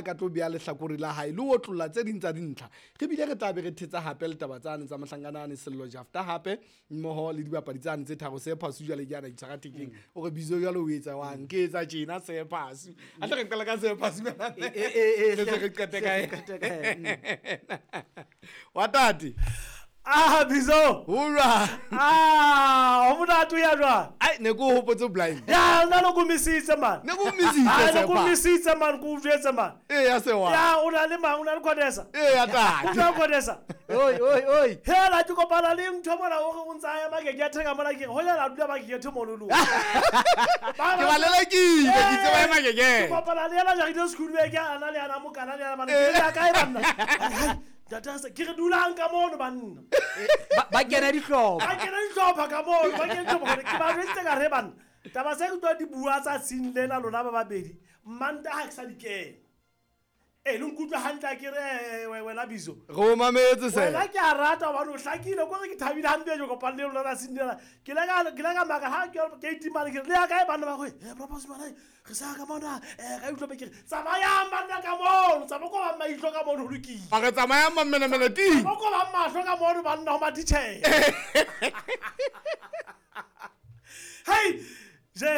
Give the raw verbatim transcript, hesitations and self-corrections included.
ka tlo bea lehlakore la hae le ho otlolla tse ding tsa dintlha. Re bile re tla be re thetsa hape le taba tsane tsa mohlankana Sello Jafta hape mmoho le dibapadi tsane tse tharo se phasu jwale ke ana itshwara thekeng. O re bizo jwale o etsa wang ke etsa tjena se phasu. A tle re qala ka se phasu. E, e, e, Re se re qete ka re qete ka yena. Wa tate. Ah, bizo. Hurra. Ah, o monate o ya jwang? Ai ne ko hopotse blind. Ya, nna ne ko misitse man. Ne ko misitse Ah, ne ko Sepa. misitse man, ko jwetse man. E ya sewa. Ya, o na le mang, o na le Khodesa. E ya tate. O na Khodesa. Oi, oi, oi. Hela ke kopana le ntho mona o re o ntsa ya makeke a theka mona ke re hoja la dula makeke mono lo. Ke ba lelekile, ke itse ba e makeke. Ke kopana le yena jarile school ke ana le ana mokana le ana bana. Ke ya kae banna? Hai, Tata se ke re dulang ka mono banna. Ba ba kena dihlopha. Ba kena dihlopha ka mono, ba kena dihlopha hore ke ba jweditse ka re banna. Taba se ke tlo di bua tsa tshing lena lona ba babedi. Mmanta ha ke sa di kena. Eh, le nkutlwa hantle ke re wena bizo. Re o mametse se. Wena ke a rata hobane o hlakile ko re ke thabile hampe jo kopane le lona tsatsing lena. Ke ile ka ke ile ka maka ha ke ke itimane ke re le ya kae banna ba go eh bro boss mana re sa ka mona eh ka utlwa be ke re tsamayang banna ka mono tsamaya ko ba maihlo ka mono ho lokile. A re tsamayang mammenemene ting. Tsamaya ko ba mahlo ka mono banna ho matitjhere. Hey, je